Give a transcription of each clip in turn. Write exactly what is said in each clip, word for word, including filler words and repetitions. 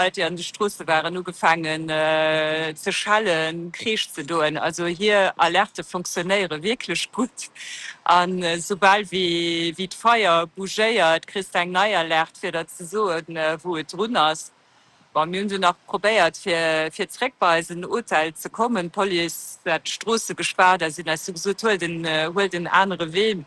Leit, déi an de Stroosse waren, ugefaangen ze schellen, Kreesch ze doen. Also hir Alerte fonctionnéiere wierklech gutt. An soubal wéi d'Feier bougéiert, kriss de eng nei Alerte, fir der ze soen, wou et drun ass. Bon, mir hunn dunn nach probéiert, fir fir zréck bei eisen Hotel ze kommen. D'Police hat d'Stroosse gespaart a si hunn eis du gesot, Huelt en, huelt en anere Wee.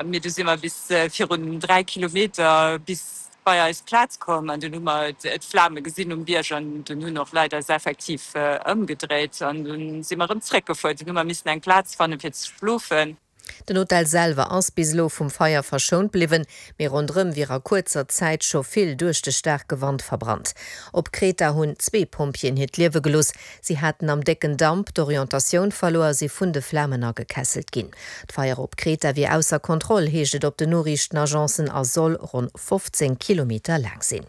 Mee du si mer bis virun dräi Kilometer bis bei eis Plaz komm an dunn hu mer d'Flame gesinn um Bierg an dunn hunn och Leit eis effektiv ëmgedréit an dunn si mer erëm zréckgefuer. Dunn hu mer missen eng Plaz fannen, fir ze schlofen. Den Hotel selwer ass bis elo vum Feier verschount bliwwen, mee ronderëm wier a kuerzer Zäit scho vill duerch de staarke Wand verbrannt. Op Kreta hunn zwee Pompjeeën hiert Liewe gelooss. Si haten am décken Damp d'Orientatioun verluer a si vun de Flamen agekesselt ginn. D'Feier op Kreta wier ausser Kontroll, heescht et op den Noriichtenagencen a soll ronn fofzéng Kilometer laang sinn.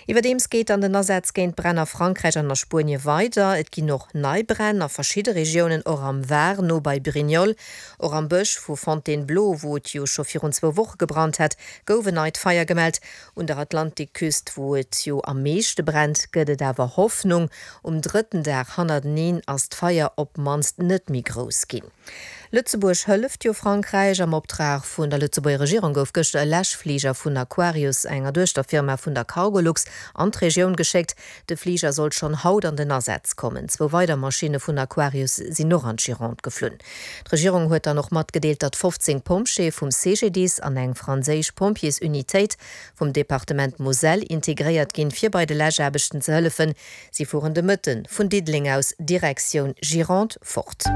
Iwwerdeems geet an den Asätz géint d'Bränn a Frankräich an a Spuenie weider. Et ginn och nei Bränn a verschidde Regiounen, och am Var, no bei Brignoles. Och am Bësch vu Fontainebleau, wou et jo scho virun zwou Woche gebrannt hat, gouf en neit Feier gemellt. Un der Atlantikküst, wou et jo am meeschte brennt, gëtt et awer Hoffnung. Um drëtten Dag hannerteneen ass d'Feier op d'mannst net méi grouss ginn. Lëtzebuerg hëlleft jo Frankräich. Am Optrag vun der Lëtzebuerger Regierung gouf gëschter e Läschfliger vun Aquarius, enger Duechterfirma vun der Cargolux, an d'Regioun geschéckt. De Fliger soll schonn haut an den Asaz kommen. Zwou weider Maschinne vun Aquarius sinn och an d'Gironde geflunn. D'Regierung huet dann och matgedeelt, datt fofzéng Pompjeeë vum C G D I S an eng franséisch Pompjeesunitéit vum Departement Moselle integréiert ginn, fir bei de Läschaarbechten ze hëllefen. Si fueren de Mëtte vun Diddeleng aus Direktioun Gironde fort.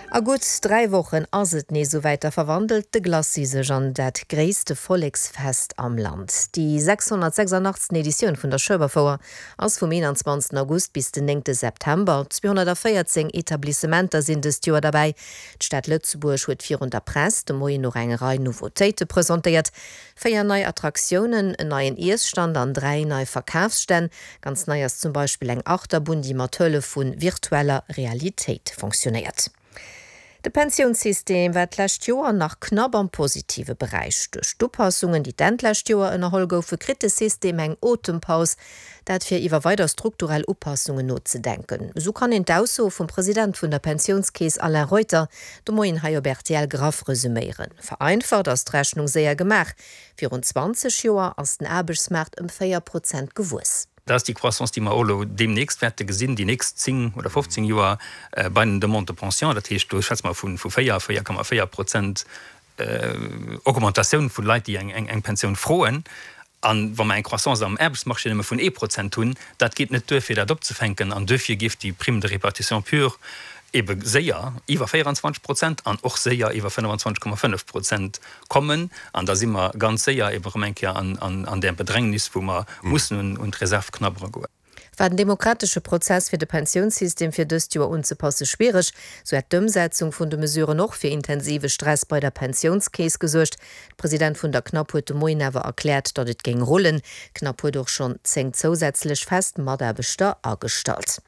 A gutt dräi Wochen ass et nees esouwäit, da verwandelt de Glacis sech an dat gréisste Volleksfest am Land. Déi sechshonnertsechsundachtzeg. Editioun vun der Schueberfouer ass vum eenanzwanzegsten August bis den néngte September. Zweehonnertvéierzéng Etablissementer sinn dëst Joer derbäi. D'Stad Lëtzebuerg huet virun der Press de Moien och eng Rei Nouveautéite presentéiert, Véier nei Attraktiounen, en neien Iesstand an dräi nei Verkafsstänn. Ganz nei ass zum Beispill eng Achterbunn, déi mat Hëllef vu virtueller Realitéit fonctionéiert. De Pensiounssystem war d'lescht Joer nach knapp am positive Beräich. Duerch d'Upassungen, déi d'Enn d'lescht Joer ënnerholl goufen, kritt de System eng Otempaus, dat fir iwwer weider strukturell Upassungen nozedenken. Esou kann een d'Ausso vum President vun der Pensiounskeess Alain Reuter de Moien hei op R T L graff resuméieren. Vereinfacht ass d'Rechnung séier gemaach, Virun zwanzeg Joer ass den Aarbechtsmaart ëm véier Prozent gewuess. Dat ass déi Croissance, déi mer och elo deemnächst wäerte gesinn, déi nächst zéng oder fofzéng Joer bei den Demandes de pension. Dat heescht, do schwätze mer vu véier, véier Komma véier Prozent Augmentatioun vu Leit, déi eng Pensioun froen. A wa mer eng Croissance am Aarbechtsmarché nëmme vun ee Prozent hunn, dat geet net duer, fir dat opzefänken. An duerfir géif déi Prime de répartition pure ebe séier iwwer véierenzwanzeg Prozent an och séier iwwer fënnefenzwanzeg Komma fënnef Prozent kommen. An da si mer ganz séier ebe erëm eng Kéier an där Bedrängnis, wou mer mussen un d'Reserv knabbere goen. War den demokratesche Prozess fir de Pensiounssystem fir dëst Joer unzepasse schwiereg, sou hätt d'Ëmsetzung vun de Mesuren och fir intensive Stress bei der Pensiounskeess gesuergt. De President vun der CNAP huet de Moien awer erkläert, datt et géing rullen. D'CNAP huet och schonn zéng zousätzlech fest Mataarbechter agestallt.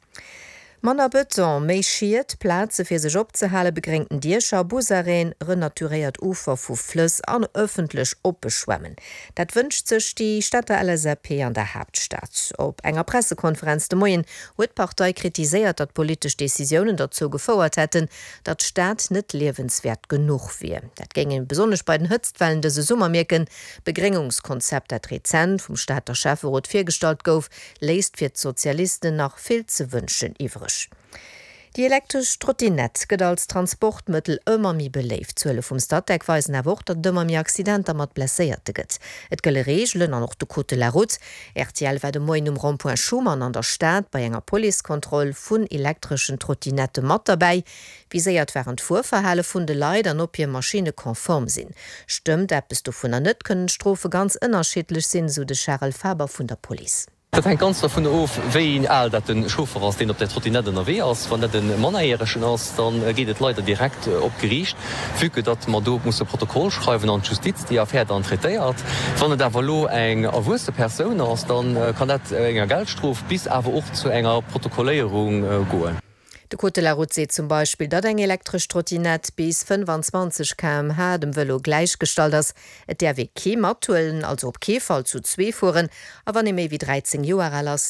Manner Bëton, méi Schied, Plaze fir sech opzehalen, begréngten Diecher, Busarrêten, renaturéiert Ufer vu Flëss an ëffentlech oppe Schwämmen. Dat wënscht sech déi Stater L S A P an der Haaptstad. Op enger Pressekonferenz de Moien huet d'Partei kritiséiert, datt politesch Decisiounen dozou gefouert hätten, datt d'Stad net liewenswäert genuch wier. Dat géing ee besonnesch bei den Hëtztwellen dëse Summer mierken. D'Begréngungskonzept, dat rezent vum Stater Schäfferot virgestallt gouf, léisst fir d'Sozialisten nach vill ze wënschen iwwreg. Déi elektresch Trottinett gëtt als Transportmëttel ëmmer méi beléift. D'Zuele vum Statec weisen awer och, datt et ëmmer méi Accidenter mat Blesséierte gëtt. Et gëlle Reegelen an och de Code de la route. R T L war de Moien um Rond-point Schuman an der Stad bei enger Policekontroll vun elektreschen Trottinette mat derbäi. Viséiert waren d'Fuerverhale vun de Leit an ob hir Maschinne konform sinn. Stëmmt eppes dovunner net, kënnen d'Strofe ganz ënnerschiddlech sinn, sou de Charel Faber vun der Police. Dat hänkt ganz dovun of, wéi al dat de Chauffer ass, deen op där Trottinett ënnerwee ass. Wann dat e Mannerjäregen ass, da geet et leider direkt op d'Geriicht, vue que datt mer do musse Protokoll schreiwen an d'Justiz déi Affär dann traitéiert. Wann et awer elo eng erwuesse Persoun ass, da kann dat enger Geldstrof bis awer och zu enger Protokolléierung goen. De Code de la Route seet zum Beispill, datt eng elektresch Trottinett bis fënnefanzwanzeg K M H dem Vëlo gläichgestallt ass. Et däerf ee kee mathuelen, also op kee Fall zu zwee fueren, a wann ee méi wéi dräizéng Joer al ass,